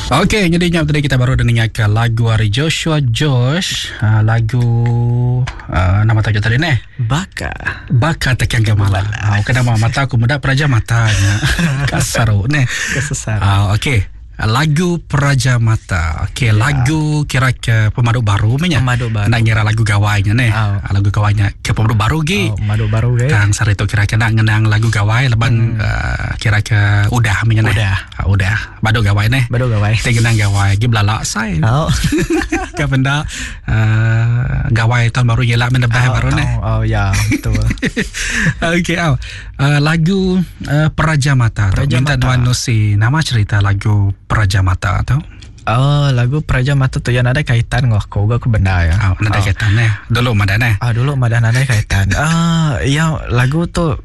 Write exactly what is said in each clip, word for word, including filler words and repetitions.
Okey, jadi nyap tadi kita baru dengar ke lagu hari Joshua Josh, uh, lagu uh, nama tajuk tadi ni Baka Baka Tekan Gemala. Ah, uh, kena mata aku muda peraja matanya. Kasaru ni. Kesesar. Ah, uh, okey. Lagu Peraja Mata. Okey, ya. Lagu kira ke pemadu baru menya. Pemadu baru. Nak ngira lagu gawainya ni. Oh. Lagu gawainya ke pemadu baru gi. Oh, pemadu baru ge. Tang sari tu kira ke nak ngenang lagu gawai leban hmm. uh, kira ke udah menya ni. Udah. Uh, udah. Badu gawai ni. Badu gawai. Teng ngenang gawai gi belalak sai. Oh. Ke benda uh, gawai tahun baru yela menebah oh, baru ni. Oh, oh ya, betul. Okey, oh. Uh, lagu uh, Peraja Mata. Peraja Minta Mata. Nuan Nusi nama cerita lagu Peraja Mata tu. Oh, lagu Peraja Mata tu yang ada kaitan dengan aku, aku benda ya. Oh, ada oh. kaitan eh. Dulu madan eh. Ah, dulu madan ada kaitan. Ah, ya lagu tu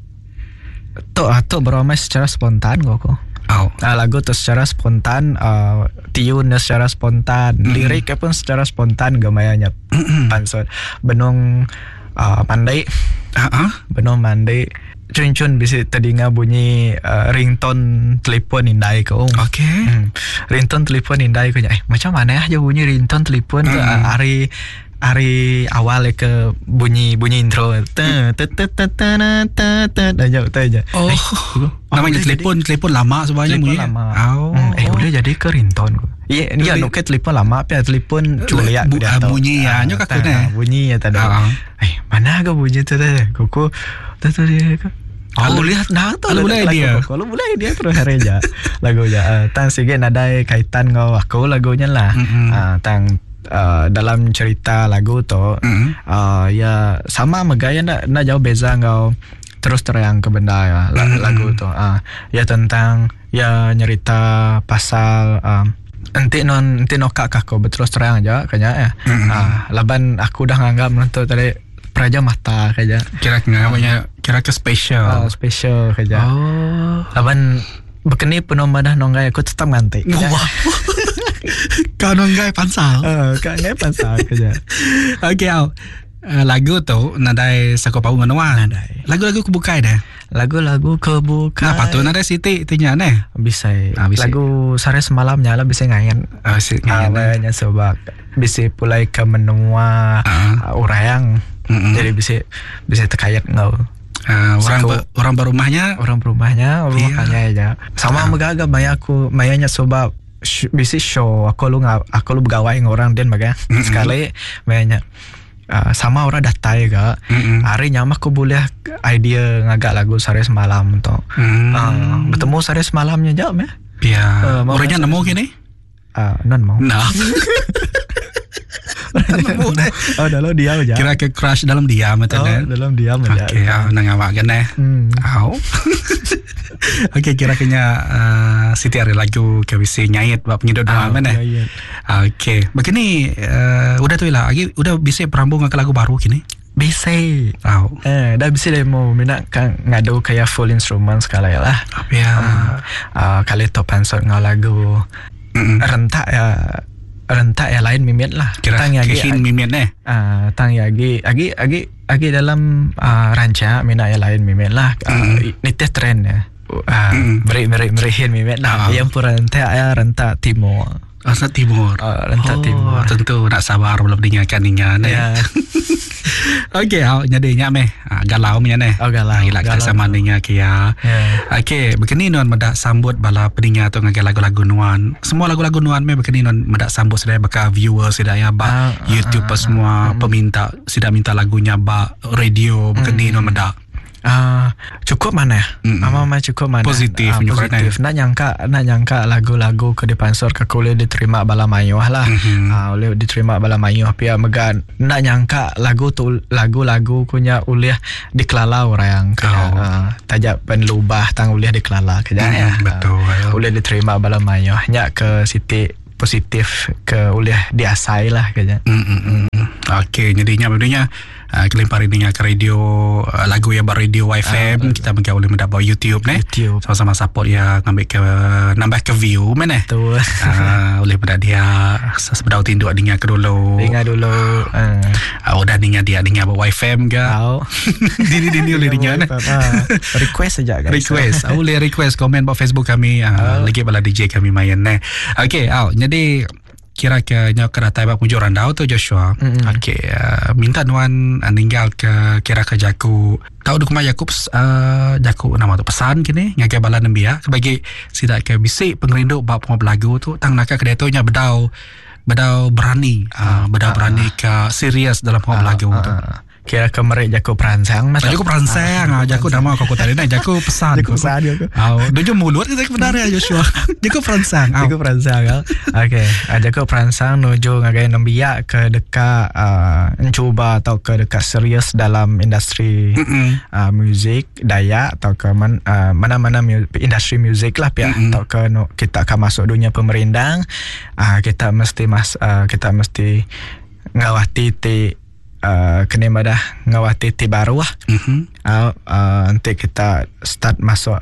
tu ah, tu beramai secara spontan aku. Oh. Ah, lagu tu secara spontan, uh, tiun secara spontan, mm-hmm. liriknya pun secara spontan gemayanya. Mm-hmm. Pansot benung uh, mandai. Uh-huh. Benung mandai. Cun-cun bisa terdengar bunyi uh, ringtone telefon indai ko. Okey. Hmm. Ringtone telefon indai ko. Eh, macam mana aja bunyi ringtone telefon mm. tu uh, hari hari awal ke bunyi bunyi intro. Te te te te te te te dah jauh tu aja. Oh. Eh, namanya telefon telefon lama sebenarnya bunyi. Lama. Oh. Hmm. Eh, boleh jadi ke ringtone ko. Iya, ya, nuk ke telefon lama apa telefon culiak bu, bunyi ya, nyok aku ne. Bunyi ya tadi. Eh, mana ke bunyi tu tadi? Kuku tu tu dia. Oh, lihat nah tu boleh dia. Kalau boleh dia terus hari aja lagunya. Uh, tang sige nadai kaitan ngau aku lagunya lah. Mm-hmm. Uh, tang uh, dalam cerita lagu tu mm-hmm. uh, ya sama megaya nak nak jauh beza ngau terus terang ke benda ya mm-hmm. lagu tu. Uh, ya tentang ya nyerita pasal um, enti non enti nokak aku berterus terang aja kayaknya ya. Mm-hmm. Uh, laban aku dah nganggap nonton tadi Peraja Mata kerja. Kira namanya kira ke special. Oh, special kerja. Oh. Laban bekeni penuh madah nonggai aku tetap ngantik. Wah. Kau nonggai pansal. Eh, kau nonggai pansal kerja. Okey, au. Uh, lagu tu nadai sako pau menua. Nadai. Lagu-lagu kebukai dah. Lagu-lagu kebukai. Nah, patut nadai siti tinya neh. Bisa. Ah, bisa. Lagu sare semalamnya lah bisa ngayan. Ah, bisa ngayan. Awalnya sebab bisa pulai ke menua uh. uh, urang. Mm-hmm. Jadi bisa bisa terkait ngau. Uh, orang ba, orang berumahnya, orang berumahnya, orang Iya. makanya aja. Sama Ah. megagak maya aku mayanya sebab sh- bisa show aku lu ngap, aku lu begawai dengan orang den baga. Mm-mm. Sekali mayanya uh, sama orang datai ga. Mm-mm. Hari nyamah aku boleh idea ngagak lagu sare semalam tu. Mm. Uh, bertemu sare semalamnya jauh ya. Ya. Uh, mau Orangnya rasa- nemu kini? Uh, non mau. Nah. Nemu deh. Oh, dalam diam aja. Kira ke crush dalam diam Oh, itu deh. dalam diam aja. Okey, ah, nang awak kan eh. Hmm. Au. Okey, kira-kira uh, Siti ada lagu ke bisi nyait bab penyedut Ah, doa mana? nyait. Okey, begini uh, udah tu lah. Lagi udah bisa perambung ke lagu baru kini. Bisa. Au. Eh, dah bisa demo minat kan ngadu kayak full instrument sekali lah. Ya. Uh, kali tu pansot ngau lagu Mm-mm. rentak ya rentak ya lain mimit lah. Kira Tang ya kehin mimit eh. Ah, tang ya agi agi agi agi dalam uh, rancak minat ya lain mimit lah. Uh, Mm. Nitih trend ya. Uh, Mm. Beri beri berihin mimit lah. Ah. Yang pun rentak ya rentak timur. Asal timur. Ah, rentak oh, timur. Tentu nak sabar belum dengarkan ningan eh. Ya. Okey, au jadi nyak meh. Ah, galau meh neh. Oh, galau. Ah, gila kita Galau sama tu. ninga kia. Ya. Okey, begini nuan medak sambut bala peninga tu ngagai lagu-lagu nuan. Semua lagu-lagu nuan meh begini nuan medak sambut sudah baka viewer sudah ya ba Ah, ah, YouTube ah, semua peminta sudah minta lagunya ba radio begini nuan medak. Ah, cukup mana ya? Mm-mm. Mama mama cukup mana? Positif, Ah, menyukai positif. Nak nyangka nak nyangka lagu-lagu ke dipansur ke kuliah diterima bala mayuh lah. Mhm. Ah, oleh diterima bala mayuh pia megan nak nyangka lagu tu lagu-lagu kunya uliah dikelala orang kaya Oh. ah, tajak penlubah tang uliah dikelala kaya Mm, ya. betul. Ah, uliah diterima bala mayuh nyak ke siti positif ke uliah diasai lah kaya. Mm, mm, mm. Okey, jadinya sebenarnya Uh, kelimpah ninga ke radio uh, lagu yang ber radio Y F M, uh, kita mega boleh mendapat YouTube ne. YouTube. Sama-sama support ya, ngambil ke nambah ke view mana. Betul. Uh, boleh pada dia sebedau tinduk dengar ke dulu. Dengar dulu. Uh. Uh, udah dengar dia dengar buat Y F M ke. Tahu. Dini-dini boleh dengar ne. Uh, request saja, guys. Request. Uh, boleh request komen buat Facebook kami. Uh, oh. Lagi bala D J kami main ne. Okey, uh, jadi kira ke nyo ke datai bak pujuk randau tu, Joshua. Mm-hmm. Okey, uh, minta nuan uh, ninggal ke kira ke jaku tahu du kumai jaku uh, jaku nama tu pesan kini ngagai bala nembiak bagi sidak ke bisi pengerindu bak penguap lagu tu tang naka ke tu nya bedau bedau berani uh, bedau berani ke serius dalam penguap uh, lagu uh, tu. Kira ke merik jaku peransang mas. Jaku peransang, ah, jaku nama kau tadi nah jaku pesan. Jaku pesan jaku. Ah, dojo mulut kita benar ya, Joshua. Jaku peransang. Jaku peransang. Okey, ah, jaku peransang nuju ngagai nembiak ke dekat uh, mencuba atau ke dekat serius dalam industri uh, muzik Dayak atau ke man, uh, mana-mana mu- industri muzik lah pihak atau ke no, kita akan masuk dunia pemerindang, uh, kita mesti mas uh, kita mesti ngawati ti uh, kena madah ngawati ti baru lah. Mm-hmm. Uh, uh, nanti kita start masuk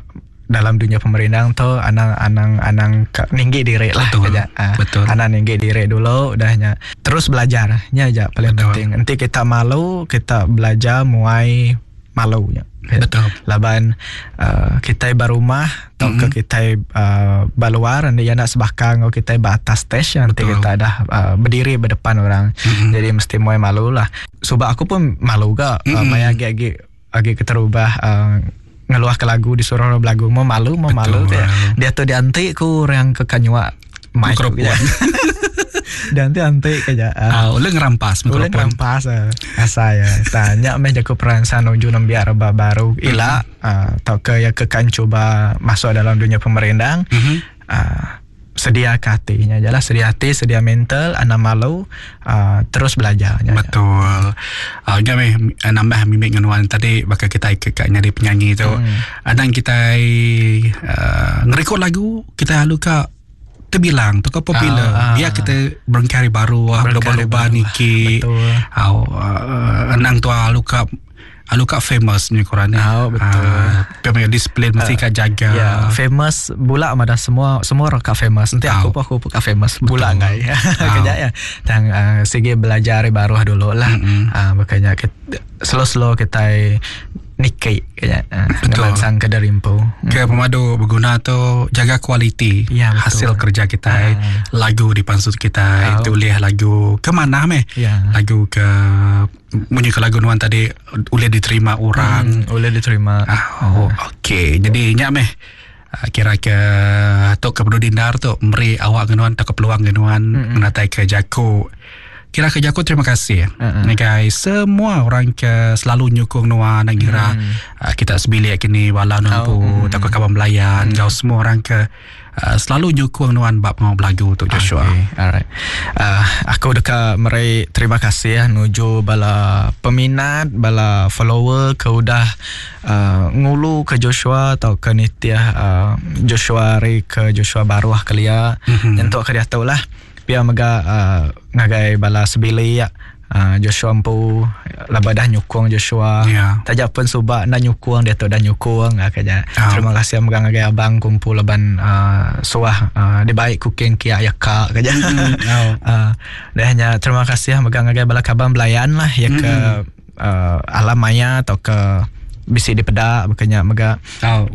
dalam dunia pemerindang tu anang anang anang ke, ninggi diri lah. Betul. Kerja. Uh, Betul. Anang ninggi diri dulu udahnya terus belajar nya aja paling Betul. penting. Nanti kita malu kita belajar muai malunya. Betul. Laban uh, kita berumah atau mm-hmm. ke kita uh, baluar nanti ya nak sebakang atau kita atas stage nanti Betul. kita dah uh, berdiri berdepan orang. Mm-hmm. Jadi mesti muai malu lah. Sebab aku pun malu gak mm-hmm. uh, maya agi-agi agi keterubah uh, ngeluah ke lagu disuruh orang belagu mau malu mau malu Betul. dia. Dia tu dianti ku orang ke kanyua mic Mikrofon. ya. Dianti anti kerja. Ah, uh, ulun ngerampas Boleh mikrofon. ngerampas eh. Asa ya. Tanya meh jago peransang nuju nembiak rebak baru ila uh, atau ke ya ke kan cuba masuk dalam dunia pemerindang. Mhm. Uh, sedia ke hatinya aja lah, sedia hati, sedia mental, anak malu, uh, terus belajar. Betul. Ah, uh, meh nambah mimik dengan tadi bakal kita ke kat nyari penyanyi tu. Hmm. Adang kita uh, ngerekod lagu kita lalu ka terbilang tu ke popular. Ah, ah. Biar kita berengkari baru ah, Berengkari loba-loba baru. niki. Betul. Au uh, anang tu alu ka alu ka famous ni korang ni. Ah, betul. Ah, uh, disiplin mesti ka jaga. Ya, famous bulak mada semua semua orang kak famous. Nanti aku Tahu. pun aku pun kak famous bulak ngai. Tahu. Kerja ya. Tang uh, sige belajar baru dulu lah. Mm-mm. Ah makanya kita, slow-slow kita niki kayaknya. Uh, Betul. Ngemansang ke darimpu. Ke pemadu berguna tu jaga kualiti Ya, betul. hasil kerja kita, Ah. lagu di pansut kita, Tahu. tulis lagu ke mana meh, Ya. lagu ke munyi ke lagu nuan tadi boleh diterima orang. Hmm, boleh diterima. Ah, oh, okey, jadi nyak meh ah, kira ke tok ke perlu dindar tu meri awak genuan tak ke peluang genuan mm-hmm. menatai ke jaku kira ke jaku terima kasih Mm-mm. ni guys semua orang ke selalu nyukung nuan nak kira Mm. uh, kita sebilik kini wala nuan Oh, pu mm. tak ke kawan belayan mm. kau semua orang ke uh, selalu nyukung nuan bab pengau belagu tu, Joshua. Okay, alright. Uh, aku dekat meri terima kasih ya nuju bala peminat, bala follower ke udah uh, ngulu ke Joshua atau ke nitiah uh, Joshua ri ke Joshua baru ah kelia. Mhm. Nyentuk ke dia tahu lah. Pia mega uh, ngagai bala sebili ya. Uh, Joshua empu laba dah nyukung Joshua. Ya. Tajak pun subak nak nyukung dia tu dah nyukung ah, kaya. Ah. Terima kasih megang ngagai abang kumpul laban uh, suah uh, dia baik cooking kia ya kak kaya. Mm, oh. Uh, dia hanya terima kasih megang ngagai bala kaban belayan lah ya ke uh, alam maya atau ke bisi di pedak bukannya mega Oh.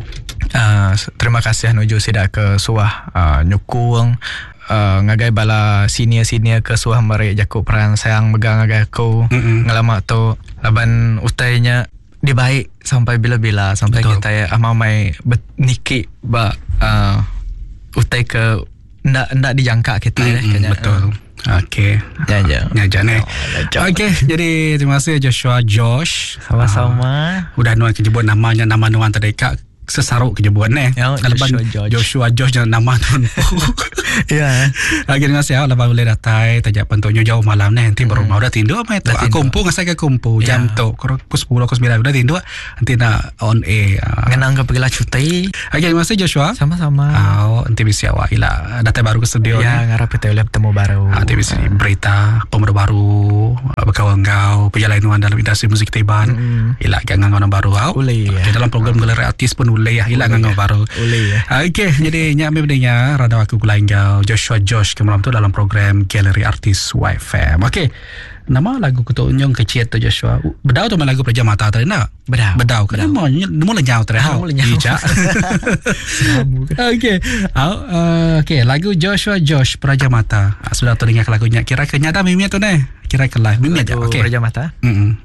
uh, terima kasih nuju sida ke suah uh, nyukung uh, ngagai bala senior-senior ke suah merek jakuk peran sayang megang ngagai aku Mm-mm. ngelama tu laban utainya dibaik sampai bila-bila sampai Betul. kita ya amamai niki ba uh, utai ke ndak ndak dijangka kita ya Mm-mm, kayaknya. betul. Okey. Ya, ya. Ya, ni. Oh, Okey, jadi terima kasih Joshua Josh. Sama-sama. Udah nuan kejebut namanya nama nuan tadi kak sesaruk kejebut ni. Ya, Lepas Joshua George. Joshua Josh jangan nama nuan. Ya. Lagi terima kasih ya lepas boleh datai tajak pentuknya jauh malam ni nanti baru mau dah tidur apa itu. Dah Aku tidur. kumpu ngasai ke kumpu jam Ya. tu pukul sepuluh pukul sembilan udah tidur nanti nak on air. Ah. Ngenang ke pergilah cuti. Okey, terima kasih Joshua. Sama-sama. Ah, nanti bisa awak ila datai baru ke studio Ya, ni. ngarap kita boleh bertemu baru. Ah, nanti bisa berita pemuda baru Bekau enggau pejalai nuan dalam industri muzik Iban. Mm. Ila gak ngangau orang baru au. Ulih, Okey, ya. dalam program Galeri Artis pun ulih ya. Ila ngangau baru. Ulih, ya. Okey, jadi nyak mi bedenya randau aku gulai enggau Joshua Josh ke malam tu dalam program Galeri Artis Y F M. Okey. Nama lagu ku tu nyong kecil tu Joshua. Bedau tu lagu Pelajar Mata tadi nak? Bedau. Bedau. Kenapa? Nemu lenyau tadi. Nemu lenyau. Ijak. Okey. Au, uh, okey, lagu Joshua Josh Peraja Mata. Ah, sudah tu dengar lagunya. Kira ke nyata mimia tu neh. Kira ke live mimia je. Lagu Okey. Peraja Mata. Mm-mm.